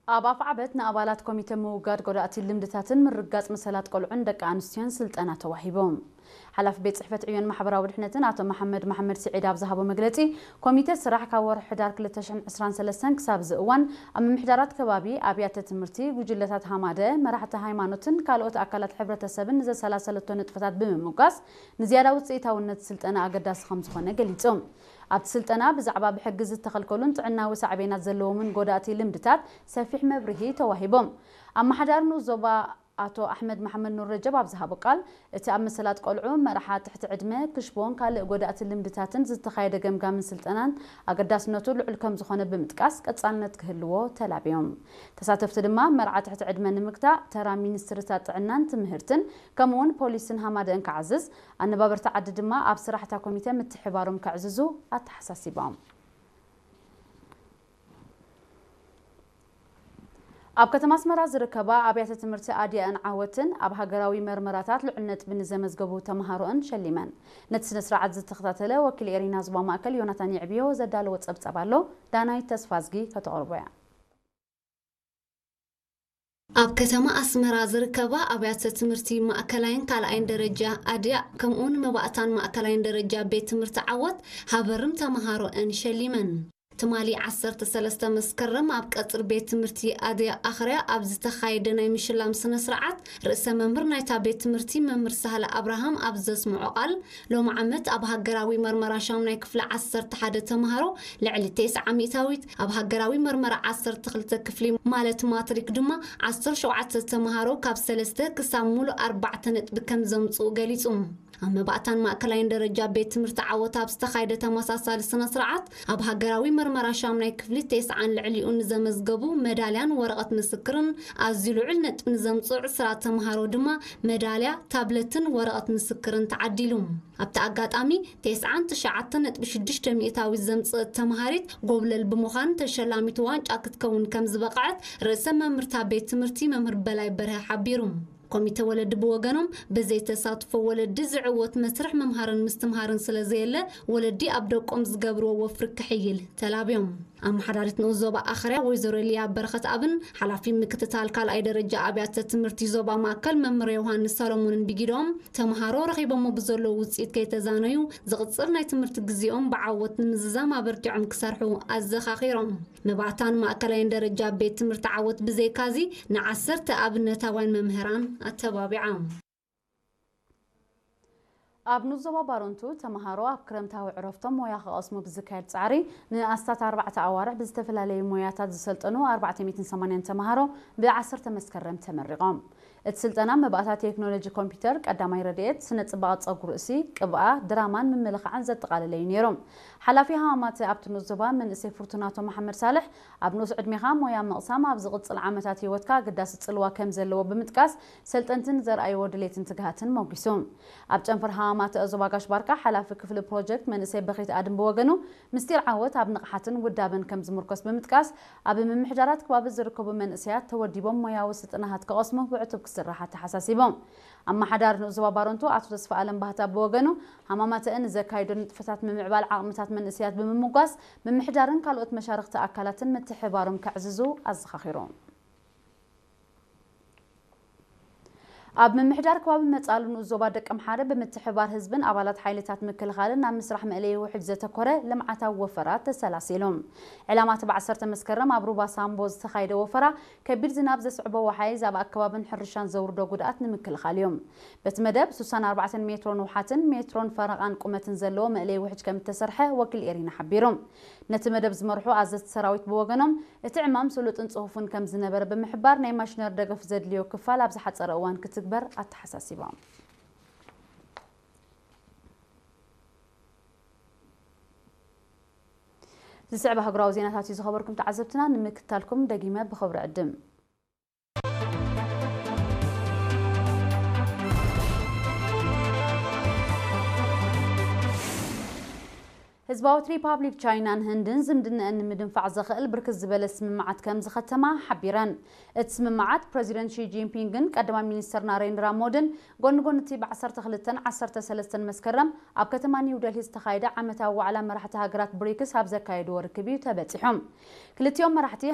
ኣብ ኣፍዓበት ንኣባላት ኮሚተ ምውጋድ ጎዳእቲ ልምድታትን ምርጋጽ መሰላት ቆልዑን ደቂ ኣንስትዮን ስልጠና ተዋሂቦም። ሓላፊ ቤት ጽሕፈት ዕዮን ማሕበራዊ ድሕነትን ኣቶ መሓመድ መሓመድ ስዒድ ኣብ ዝሃቦ መግለጺ፣ ኮሚተ ስራሕ ካብ ወርሒ ሕዳር ክልተ ሽሕን ዕስራን ሰለስተን ክሳብ እዚ እዋን ኣብ ምምሕዳራት ከባቢ፣ ኣብያተ ትምህርቲ፣ ጉጅለታት ሃማደ፣ መራሕቲ ሃይማኖትን ካልኦት ኣካላት ሕብረተሰብን ንዘሰላሰለቶ ንጥፈታት ብምምጓስ ንዝያዳ ውጽኢታውነት ስልጠና ኣገዳሲ ከም ዝኾነ ገሊጹ። ኣብቲ ስልጠና ብዛዕባ ብሕጊ ዝተኸልከሉን ጥዕናዊ ሳዕቤናት ዘለዎምን ጎዳእቲ ልምድታት ሰፊሕ መብርሂ ተዋሂቦም። ኣመሓዳሪ ንኡስ ዞባ ኣቶ ኣሕመድ መሓመድ ኑር ረጀብ ኣብ ዝሃቦ ቃል፣ እቲ ኣብ መሰላት ቆልዑ፣ መርዓ ትሕቲ ዕድመ፣ ክሽቦን ካልእ ጎዳእቲ ልምድታትን ዝተኻየደ ገምጋምን ስልጠናን ኣገዳስነቱ ልዑል ከም ዝኾነ ብምጥቃስ ቀጻልነት ክህልዎ ተላብዮም። ተሳተፍቲ ድማ መርዓ ትሕቲ ዕድመ ንምግታእ ተራ ሚኒስትርታት ጥዕናን ትምህርትን ከምኡውን ፖሊስን ሃማደእን ክዓዝዝ፣ ኣነባበርቲ ዓዲ ድማ ኣብ ስራሕታ ኮሚተ ምትሕባሮም ከዕዝዙ ኣተሓሳሲቦም። ኣብ ከተማ ኣስመራ ዝርከባ ኣብያተ ትምህርቲ ኣድያእን ዓወትን ኣብ ሃገራዊ መርመራታት ልዑል ነጥቢ ንዘመዝገቡ ተምሃሮእን ሸሊመን። ነቲ ስነ ስርዓት ዝተኸታተለ ወኪል ኤሪና ዞባ ማእከል ዮናታን የዕብዮ ዘዳለዎ ጸብጻብ ኣሎ። ዳናይት ተስፋዝጊ ከተቕርቦ እያ። ኣብ ከተማ ኣስመራ ዝርከባ ኣብያተ ትምህርቲ ማእከላይን ካልኣይን ደረጃ ኣድያ፣ ከምኡውን መባእታን ማእከላይን ደረጃ ቤት ትምህርቲ ዓወት ሃበርም ተምሃሮእን ሸሊመን። ትማሊ ዓሰርተ ሰለስተ መስከረም ኣብ ቀጽሪ ቤት ትምህርቲ ኣድያ ኣኽርያ ኣብ ዝተኻየደ ናይ ምሽላም ስነ ስርዓት፣ ርእሰ መምህር ናይታ ቤት ትምህርቲ መምህር ሳህለ ኣብርሃም ኣብ ዘስምዖ ቃል፣ ሎሚ ዓመት ኣብ ሃገራዊ መርመራ ሻሙናይ ክፍሊ ዓሰርተ ሓደ ተምሃሮ ልዕሊ ተስዓ ሚእታዊት፣ ኣብ ሃገራዊ መርመራ ዓሰርተ ክልተ ክፍሊ ማለት ማትሪክ ድማ ዓሰርተ ሸውዓተ ተምሃሮ ካብ ሰለስተ ክሳብ ሙሉእ ኣርባዕተ ነጥቢ ከም ዘምጽኡ ገሊጹ። ኣብ መባእታን ማእከላይን ደረጃ ቤት ትምህርቲ ዓወት ኣብ ዝተኻየደ ተመሳሳሊ ስነ ስርዓት፣ ኣብ ሃገራዊ መርመራ ሻሙናይ ክፍሊ ተስዓን ልዕሊኡ ንዘመዝገቡ መዳልያን ወረቐት ምስክርን ኣዝዩ ልዑል ነጥቢ ንዘምጽኡ ዕስራ ተምሃሮ ድማ መዳልያ፣ ታብለትን ወረቐት ምስክርን ተዓዲሉ። ኣብቲ ኣጋጣሚ፣ ተስዓን ትሽዓተ ነጥቢ ሽዱሽተ ሚእታዊት ዘምጽእት ተምሃሪት ጎብለል ብምዃን ተሸላሚት ዋንጫ ክትከውን ከም ዝበቕዐት ርእሰ መምህርታ ቤት ትምህርቲ መምህር በላይ በርሀ ሓቢሩ። ኮሚተ ወለዲ ብወገኖም፣ ብዘይ ተሳትፎ ወለዲ ዝዕወት መስርሕ ምምሃርን ምስትምሃርን ስለ ዘየለ፣ ወለዲ ኣብ ደቆም ዝገብርዎ ወፍሪ ክሕይል ተላብዮም። ኣመሓዳሪት ንኡስ ዞባ ኣኽርያ ወይዘሮ ሊያ በረኸት ኣብን ሓላፊ ምክትታል ካልኣይ ደረጃ ኣብያተ ትምህርቲ ዞባ ማእከል መምህር ዮሃንስ ሰሎሞንን ብጊዶም፣ ተምሃሮ ረኺቦሞ ብዘለዉ ውጽኢት ከይተዛነዩ፣ ዝቕጽል ናይ ትምህርቲ ግዜኦም ብዓወት ንምዝዛም ኣበርቲዖም ክሰርሑ ኣዘኻኺሮም። መባእታን ማእከላይን ደረጃ ቤት ትምህርቲ ዓወት ብዘይካዚ፣ ንዓሰርተ ኣብነታውያን መምህራን ኣተባቢዓ። ኣብ ንኡስ ዞባ ባረንቱ፣ ተምሃሮ ኣብ ክረምታዊ ዕረፍቶም ሞያ ክቐስሙ ብዝካየድ ጻዕሪ፣ ንኣስታት ኣርባዕተ ኣዋርሕ ብዝተፈላለዩ ሞያታት ዝሰልጠኑ ኣርባዕተ ሚእትን ሰማንያን ተምሃሮ ብዓሰርተ መስከረም ተመሪቖም። እቲ ስልጠና መባእታ ቴክኖሎጂ ኮምፒውተር፣ ቀዳማይ ረድኤት፣ ስነ ጽባቐ ጸጉሪ ርእሲ፣ ቅብኣ፣ ድራማን ምምልኻዕን ዘጠቓለለ እዩ ነይሩ። ሓላፊ ሃማማተ ኣብቲ ንኡስ ዞባ መንእሰይ ፍርቱናቶ መሓመድ ሳልሕ፣ ኣብ ንኡስ ዕድሜኻ ሞያ ምቕሳም ኣብ ዝቕጽል ዓመታት ህይወትካ ኣገዳሲ ጽልዋ ከም ዘለዎ ብምጥቃስ፣ ሰልጠንቲ ንዘርኣይዎ ድሌትን ትግሃትን ሞጒሱ። ኣብ ጨንፈር ሃማማተ ዞባ ጋሽ ባርካ ሓላፊ ክፍሊ ፕሮጀክት መንእሰይ በኺት ኣድም ብወገኑ፣ ምስጢር ዓወት ኣብ ንቕሓትን ውዳበን ከም ዝምርኮስ ብምጥቃስ፣ ኣብ ምምሕዳራት ከባቢ ዝርከቡ መንእሰያት ተወዲቦም ሞያዊ ስልጠናታት ክቐስሙ ብዕቱብ ክስራሕ ኣተሓሳሲቦም። ኣመሓዳሪ ንኡስ ዞባ ባረንቱ ኣቶ ተስፋ ኣለም ባህታ ብወገኑ፣ ሃማማተአ ንዘካይዶ ንጥፈታት ምምዕባል ዓቕምታት መንእሰያት ብምምጓስ፣ ምምሕዳርን ካልኦት መሻርኽቲ ኣካላትን ምትሕብባሮም ከዕዝዙ ኣዘኻኺሩ። ኣብ ምምሕዳር ከባቢ መጻሉ ንኡስ ዞባ ደቀምሓረ ብምትሕብባር ህዝብን ኣባላት ሓይልታት ምክልኻልን ናብ ምስራሕ መእለዪ ውሕጅ ዘተኮረ ልምዓታዊ ወፈራ ተሰላሲሉ። ዕላማ እቲ ብዓሰርተ መስከረም ኣብ ሩባ ሳምቦ ዝተኻየደ ወፈራ፣ ከቢድ ዝናብ ዘስዕቦ ወሓይዝ ኣብ ኣከባብን ሕርሻን ዘውርዶ ጉድኣት ንምክልኻል እዩ። በቲ መደብ፣ ስሳን ኣርባዕተን ሜትሮ ንውሓትን ሜትሮን ፈረቓን ቁመትን ዘለዎ መእለዪ ውሕጅ ከም እተሰርሐ ወኪል ኤሪና ሓቢሩ። ነቲ መደብ ዝመርሑ ኣዘዝቲ ሰራዊት ብወገኖም፣ እቲ ዕማም ስሉጥን ጽፉፍን ከም ዝነበረ ብምሕባር፣ ናይ ማሽነሪ ደገፍ ዘድልዮ ክፋል ኣብ ዝሓጸረ እዋን ክትግበር ኣተሓሳሲቦም። ዝስዕብ ኣህጉራዊ ዜናታት እዩ ዝኸበርኩም ተዓዘብትና፣ ንምክትታልኩም ደጊመ ብኽብሪ ዕድም። ህዝባዊት ሪፓብሊክ ቻይናን ህንድን ዝምድነአን ንምድንፋዕ ዘኽእል ብርክት ዝበለ ስምምዓት ከም ዝኸተማ ሓቢረን። እቲ ስምምዓት ፕረዚደንት ሺ ጂንፒንግን ቀዳማይ ሚኒስትር ናሬንድራ ሞድን ጎኒ ጎኒ እቲ ብ ዓሰርተ ክልተን ዓሰርተ ሰለስተን መስከረም ኣብ ከተማ ኒው ደልሂ ዝተኻየደ ዓመታዊ ዋዕላ መራሕቲ ሃገራት ብሪክስ ኣብ ዘካየድዎ ርክብ እዩ ተበጺሑ። ክልቲኦም መራሕቲ